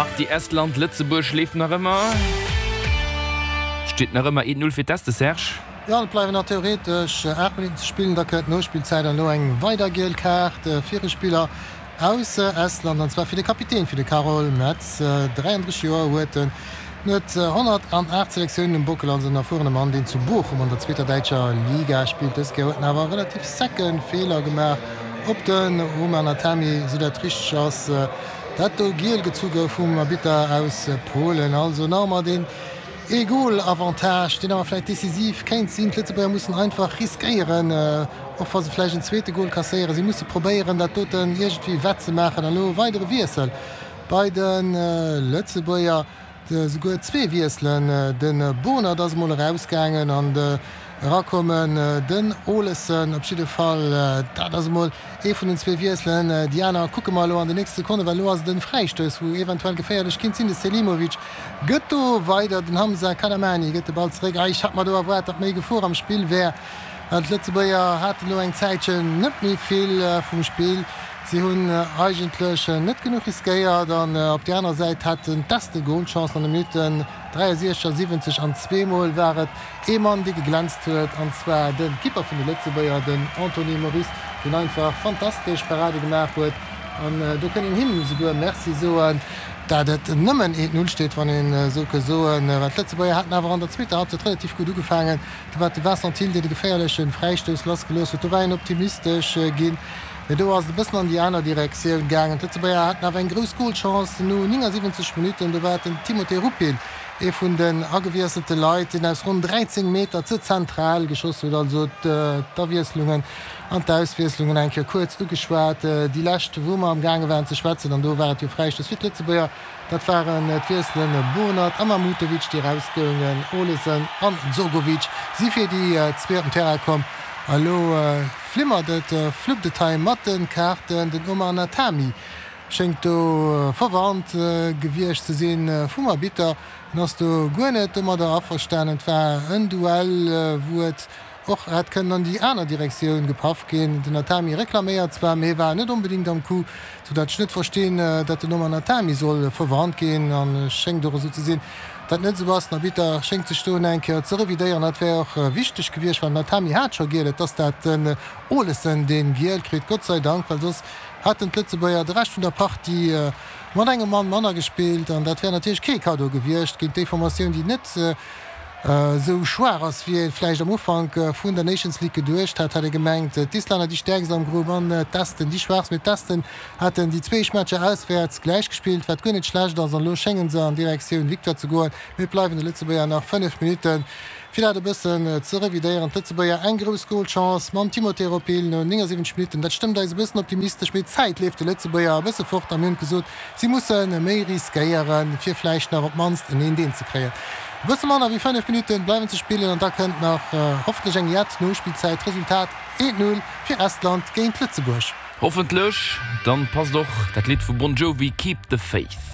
D'Partie Estland, Lëtzebuerg leeft nach ëmmer. Steet nach ëmmer 1, 0 fir d'Este, Serge. Jo, et bleiwen nach theoretesch 8 Minutten ze spillen, da kënnt d'Nospillzäit an elo eng weider giel Kaart fir e Spiller aus Estland, an zwar fir de Kapitän, fir de Karol Mets. 33 Joer huet en, en huet 108 Selektiounen um Bockel, also en erfuerene Mann, deen zu Bochum an der zweeter däitscher Liga spillt. Dës Kéier huet en awer e relativ secke Feeler gemaach op den Roman Atami, sou dat richteg ass, dat do giel gezu gouf vum Arbitter aus Polen. Also nach emmer deen Ee Goal-Avantage, deen awer vläicht decisiv kéint sinn. D'Lëtzebuerger mussen einfach riskéieren, och wa se vläicht en zweete Goal kasséieren. Si musse probéieren, dat doten iergendwéi wett ze maachen. An elo e weidere Wiessel bei de Lëtzebuerger, souguer zwee Wiesselen. De Bohnert ass emol erausgaangen an erakommen den Olesen. Op jidde Fall, dat ass emol Ee vun den zwee Wiesselen. Déi aner kucke mer elo an den nächste Sekonne, well elo ass et en Fräistouss, wou eventuell geféierlech kinnt sinn. De Selimovic gëtt do weider, den Hamza Kadamani gëtt de Ball zeréck. Ei, ech hat mer do erwaart, datt méi Gefor am Spill wär, well d'Lëtzebuerger haten elo eng Zäitchen net méi vill vum Spill. Si hunn eigentlech net genuch riskéiert an op där aner Säit haten d'Esten Golchancen an de Minutten 63 a 70 an zweemol war et Ee Mann, dee geglänzt huet, an zwar de Kipper vun de Lëtzebuerger, den Anthony Moris, deen einfach fantastesch Parade gemaach huet. An do kënn een him souguer Merci soen, dat et nëmmen 1, 0 steet, wann een esou ke soen. Well d'Lëtzebuerger haten awer an der zweeter Halbzeit relativ gutt ugefaangen. Do war et de Vincent Thill, deen de geféierleche Fräistouss lassgelooss huet. Do war een optimistesch ginn, mee do ass et e bëssen an déi aner Direktioun gaangen. D'Lëtzebuerger haten awer eng grouss Golchance no 79 Minutten. Do war et den Timothé Rupil, Ee vun den agewiesselte Leit, deen aus ronn 13 Meter ze zentral geschoss huet. Also d'Awiesslungen an d'Auswiesslungen eng Kéier kuerz ugeschwat. Déi lescht, wou mer am gaange waren ze schwätzen, an do war et jo Fräistouss fir d'Lëtzebuerger, dat waren d'Wiesselen Bohnert a Mahmutovic, déi erausgoungen. Olesen an Dzogovic si fir déi zwee op den Terrain komm. A elo flimmert et, fluppt et hei mat de Kaarten. Den Omar Natami Schéngt do verwarnt gewiescht ze sinn vum Arbitter. En ass do guer net domadder averstanen. Et war en Duell, wou et och hätt kënnen an déi aner Direktioun gepaff ginn. Den Natami reklaméiert zwar, mee war net onbedéngt am Coup, sou dat ech net verstinn, dat den Omar Natami soll verwarnt ginn. An schéngt och esou ze sinn, dat net esou ass. Den Arbitter schéngt sech do eng Kéier ze revidéieren. Dat wär och wichteg gewiescht, well den Natami hat scho giel. Et ass dat den Olesen, deen giel kritt, Gott sei Dank, well soss haten d'Lëtzebuerger de Rescht vun der Partie mat engem Mann manner gespillt an dat wär natierlech kee Kaddo gewiescht géint déi Formatioun, déi net esou schwaach ass, wéi ee vläicht am Ufank vun der Nations League geduecht hat. Hat ee gemengt, d'Islänner déi stäerkst am Grupp an d'Esten déi schwaachst. Mee d'Esten haten déi zwee éischt Matcher auswäerts gläich gespillt, wat guer net schlecht ass an elo schénge se an Direktioun Victoire ze goen. Mee et bleiwen de Lëtzebuerger nach 5 Minutten. Fir dat e bëssen ze revidéieren, d'Lëtzebuerger eng grouss Golchance mam Timothé Ropil no 79 Minutten. Dat stëmmt eis e bëssen optimistesch, mee d'Zäit leeft de Lëtzebuerger e bësse fort a mir hunn gesot, si musse méi riskéieren, fir vläicht nach op d'mannst en 1-1 ze kréien. E bësse manner wéi 5 Minutte bleiwen ze spillen an da kënnt nach hoffentlech eng jett Nospillzäit. Resultat, 1-0 fir Estland géint Lëtzebuerg. Hoffentlech, dann passt och dat Lidd vu Bon Jovi Keep the Faith.